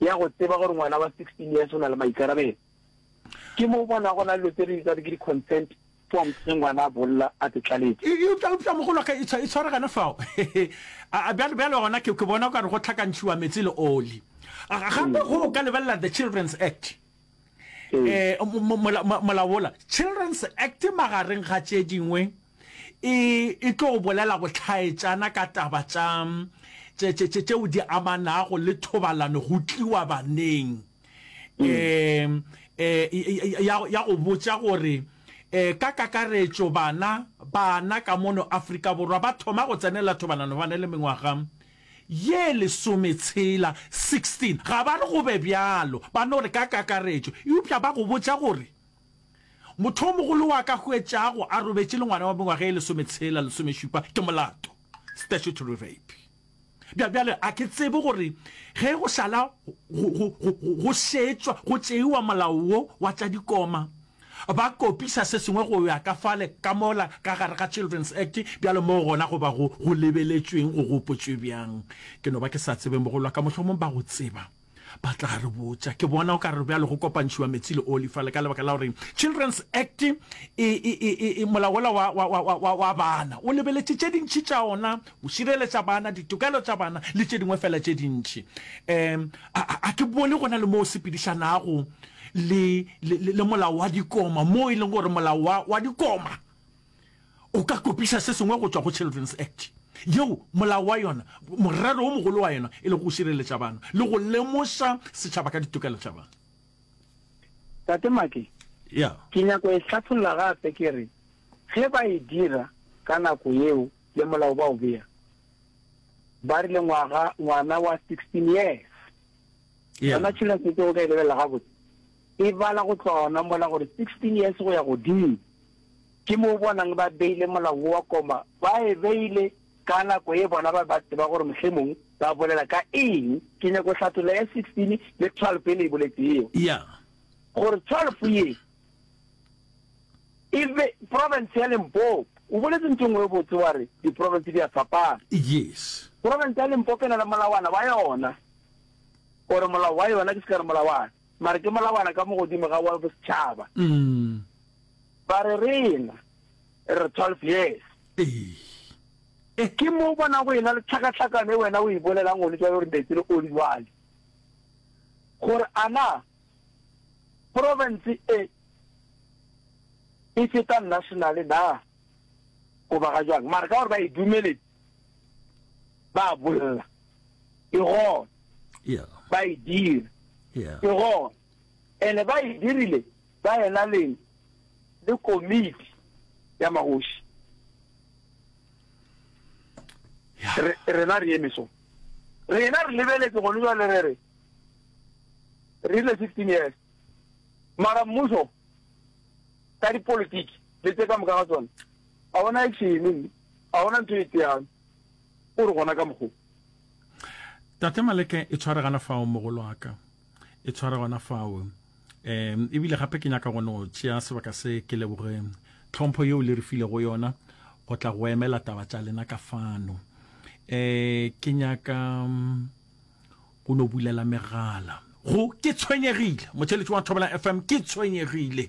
ya go tseba gore ngwana wa 16 years o na le maikarabelo. Ke mo o bona go na le dilo tse re di bitsago ke di-consent forms ge ngwana a bolla a te tlaletše. Eupša, eupša mogolo wa ka, e tshwa, e tshware gona fao. A, a, bjale, bjale gona ke, ke bona o ka re go hlakantšhiwa meetse le oli. Gape go o ka lebelela the Children's Act, eh, molao wola, Children's Act magareng ga tše dingwe e, e tlo bolela go hlaetšana ka taba tša, tše, tše, tše, tšeo di amanago le thobalano go tliwa baneng. Um, eh, ya, ya go botša gore eh, ka kakaretšo bana, bana ka mono Afrika Borwa ba thoma go tsenela thobalano ba na le mengwaga ye lesometshela, 16. Ga ba re go be bjalo, ba no re ka kakaretšo. Eupša ba go botša gore motho o mogolo wa ka hwetšago a robetše le ngwana wa mengwaga ye lesometshela, lesomešupa, ke molato, statutory rape. Bja, bjale, a ke tsebe gore ge go šala go, go, go, go šetšwa, go tšeiwa molao wo wa tša dikoma, ba kopisa se sengwe go ya ka fale, ka mola, ka gare ga Children's Act, bjale moo gona go ba go, go lebeletšweng, go gopotšwe bjang. Ke no ba ke sa tsebe, mogolo wa ka, mohlomong ba go tseba. Ba tla re botša. Ke bona o ka re bjalo go kopantšhiwa metsi le oli fale ka lebaka la gore Children's Act e, e, e, e, e molao wola wa, wa, wa, wa, wa bana o lebeletše tše dintši tša ona, go šireletša bana, ditokelo tša bana le tše dingwe fela tše dintši. Um, a, a, a ke bone go na le mo o sepedišanago le, le, le, le molao wa dikoma, mo e leng gore molao wa, wa dikoma O ka kopiša se sengwe go tšwa go Children's Act, yeo molao wa yona, morero o mogolo wa yona e lego go šireletša bana le go lemoša setšhaba ka ditokelo tša bana. Tate Maki, Ya. ke nyako e hlatholla gape ke re, ge ba e dira ka nako yeo le molao ba o bea, ba rile ngwaga, ngwana wa 16 years. Ya. Yona Children's Act o ka e lebelela gabotse, e bala go tloga gona mola gore 16 years go ya godimo. Ke mo o bonang ba beile molao wo wa koma, ba e beile ka nako ye bona ba be ba tseba gore mohlemong ba bolela ka eng. Ke nyako hlatholla ya 16 le 12 e le e boletšego. Ya. Gore 12 ye e be province ya Limpopo. O boletse ntho e nngwe e botse wa re diprovince di a fapana. Yes. Province ya Limpopo e na le molawana wa yona, or molao wa yona, ke se ka re molawana, mara ke molawana ka mo godimo ga wa bosetšhaba. Mm. Ba re rena re 12 years. Ee. Ke mo o bona go ena le tlhakatlhakano e wena o e bolelang gone jwale gore metsi le oli jwale. Gore a na province e e feta national na goba ga jwang. Mara ka gore ba e dumeletse ba bolla e gona. Yeah. Ba e dira. Yeah. E gona. Ene ba e dirile ba ena le le komiti ya magoši. Re, rena re eme so. Rena re lebeletse gone jwale re re, re rile 16 years. Mara mmušo ka dipolitiki le tše ka moka ga tsona, ga ona action mme, ga ona ntho e tseang. O re gona ka mokgo. Tate Maleke, e tshware gana fao mogolo wa ka. E tshware gona fao. Um ebile gape ke nyaka go no tšea sebaka se ke leboge tlhompho yeo le re filego yona go tla go emela taba tša lena ka fano. Um ke nyaka mm, go no bulela megala go ke tshwenyegile motheletši wa Thobela FM ke tshwenyegile.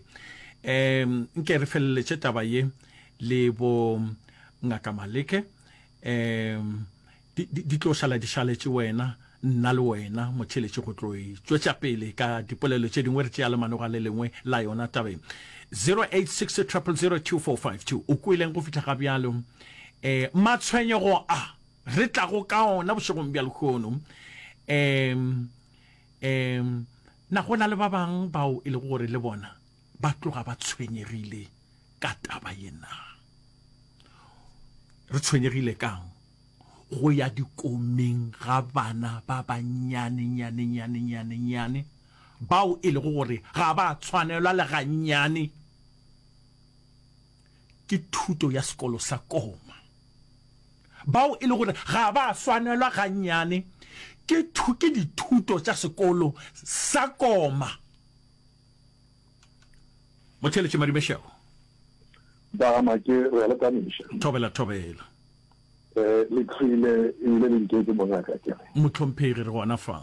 Um nke re feleletše taba ye le bo Ngaka Maleke um Di, di, di tlo šala di šaletše wena, nna le wena, motheeletši, go tlo e tšwetša pele ka dipolelo tše dingwe, re tšea lemanoga le lengwe la yona tabeng. 086 000 2452. O kweleng go fihla ga bjalo? Eh, matshwenyego a re tlago ka ona bošegong bja lehono, um, um, na go na le ba bang bao e lego gore le bona ba tloga ba tshwenyegile ka taba ye na? Re tshwenyegile ka'ng? Go ya dikomeng ga bana ba bannyane, nyane, nyane, nyane, nyane, bao e lego gore ga ba tshwanelwa le gannyane ke thuto ya sekolo sa koma, bao e lego gore ga ba swanelwa gannyane ke, ke dithuto tša sekolo sa koma. Motheeletši Madumešego. Ba ga Make re a le tamiša. Thobela thobela. Eh, le tlhoile ebile le ntetše mongaka ke re. Mohlomphegi re gona fa.